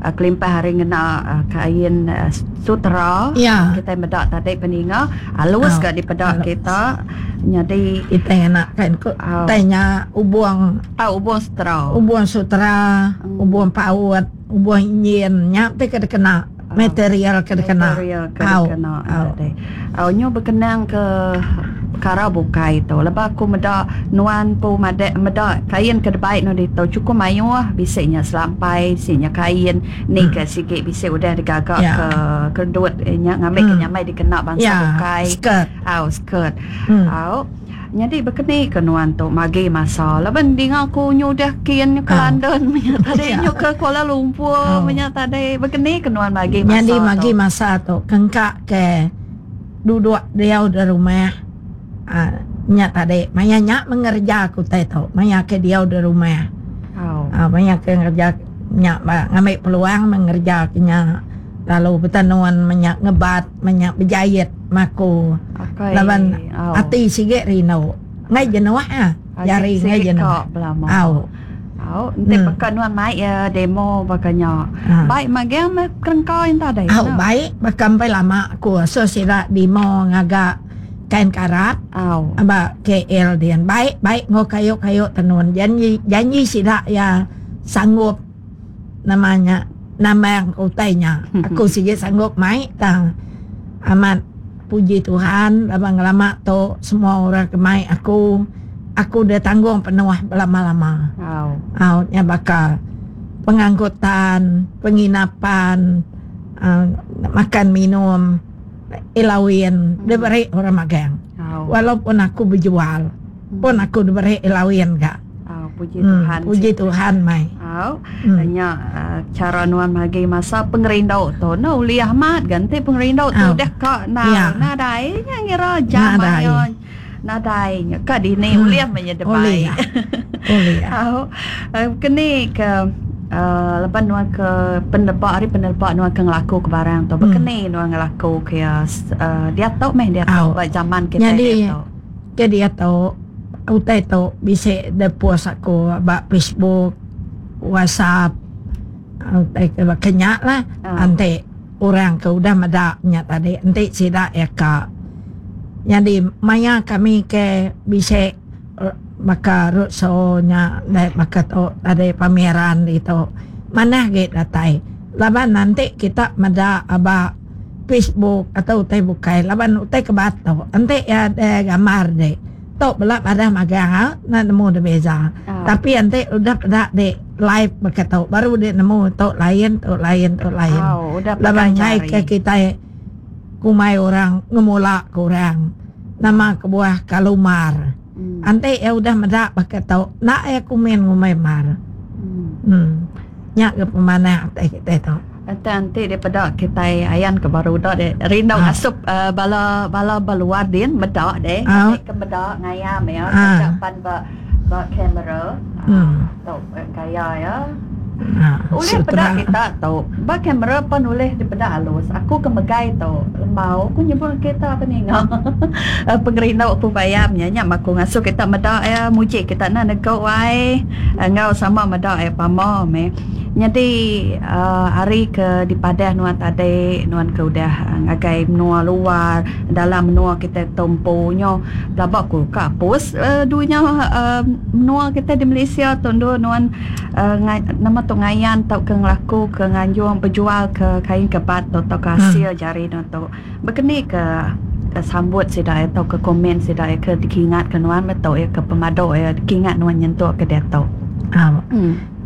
Kelimpah ari ngena kain sutera kitai meda tadi peninga alus ga dipeda kita nyadi kitai ngena kain utai nya ubung ubung sutera ubung sutera ubung paut ubung injin nya ti ke dikena material ke dikena material ke dikena tadi. Au nyu bekenang ke pekara bukai tu lebuh aku meda nuan empu madah meda kain ke dibai nuan ditu chukup mayuh bisi nya selampai bisi nya kain ni ke sigi bisi udah digaga ke kedut nya ngambi ke nyamai dikena bansa bukai au skirt au. Nyadi bekeni ke nuan tu magi masa laban dinga ku nyu udah kin nyu ke London menya tadi nyu ke Kuala Lumpur menya tadi bekeni ke nuan magi masa tu. Nyadi magi masa tu kengka ke duduk diau da rumah aaa nya tadi maya nya meh ngereja ke utai tu maya ke diau da rumah aaa maya ke ngereja nya ba ngambi peluang meh ngereja ke nya lalu betenun menya ngebat menya bejait maku laban ati sigi rindu enggai jenuh ah jari enggai jenuh au. Au enti baka nuan mai iya demo baka nya baik magang meh kerengka enta deh. Au baik baka empai lama ku asuh sida demo ngaga kain karat ba KL din baik baik enggau kayu kayu tenun janji janji sida iya sanggup. Nama nya nambang utai nya. Aku sigi sanggup mai tang amat puji Tuhan laban ngelama tu semua orang ke mai aku, aku deh tanggung penuh belama-lama. Au nya baka pengangkutan, penginapan, uhh makan minum, elawin diberi orang magang. Walaupun aku bejual pun aku diberi elawin ga. Au puji Tuhan. Puji Tuhan mai. Au nya chara nuan magi masa pengerindu tu enda ulih amat ga enti pengerindu tu udah ka nadai nya ngira jam ayo nadai nya ka dini ulih meh nya debai. Ulih. Au keni ke uhh leban nuan ke peneleba ari peneleba nuan ke ngelaku ke barang tu bekeni nuan ngelaku ke iya uhh diatu meh diatu ba zaman kitai diatu. Ke diatu utai tu bisi da post aku ba Facebook, WhatsApp utai ke baka nya lah enti orang ke udah meda nya tadi enti sida iya ka. Nyadi maya kami ke bisi baka roadshow nya deh baka tu tadi pameran ditu manah agi datai laban enti kita meda aba Facebook atau utai bukai laban utai ke batu enti iya deh gambar deh tu bela madah magang au enda nemu deh beza tapi enti udah peda deh live baka tu baru deh nemu tu lain tu lain tu lain laban enggai ke kitai kumbai orang ngemula ke orang nama kebuah kalu mar enti iya udah meda baka tu enda iya kumin ngumbai mar uhh nya ke pemanah utai kitai tu. Enti enti dipeda kitai ayan ke baru udah deh rindu ngasup bala bala ba luar din meda deh ngambi ke meda ngayam iya taja pan ba ba kamera tu gaya iya ulih peda kita tu ba kamera pan ulih dipeda alus aku ke megai tu lembau ku nyebut kita peninga pengerindu ku bayam nya nya mah ku ngasuh kita meda iya muji kita enda negu ai enggau sama meda iya pama meh. Nyadi ari ke dipadah nuan tadi nuan ke udah ngagai menua luar dalam menua kitai tu empu nyo pelaba ku ka apus dunya menua kitai di Malaysia tu endur nuan nama tu ngayan tauka ngelaku ke nganjung bejual ke kain kebat tu tauka asil jari nuan tu. Baka ni ke sambut sida iya tauka komen sida iya ke dikingat ke nuan meh tu iya ke pemadu iya dikingat nuan nyentuk ke diatu.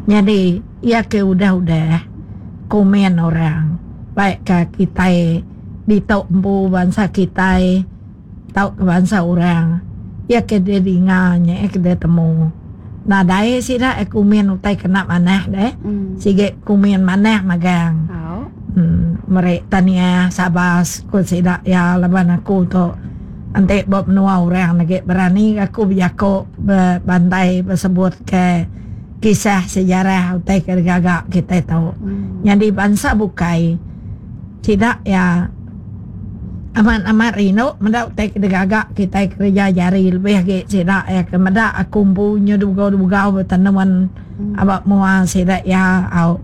Nyadi iya ke udah-udah komen orang baikka kitai ditu empu bansa kitai tauka bansa orang iya ke didinga nya iya ke ditemu. Nadai sida iya komen utai kena manah deh sigi komen manah magang meri tahniah sabas ku sida iya laban aku tu enti ba menua orang agi berani aku bejaku bebantai besebut ke. Kisah sejarah utai ke digaga kitai tu. Nyadi bansa bukai sida iya amat-amat rindu meda utai ke digaga kitai kereja jari lebih agi sida iya ke meda aku empu nyu dugau-dugau betenun aba mua sida iya au.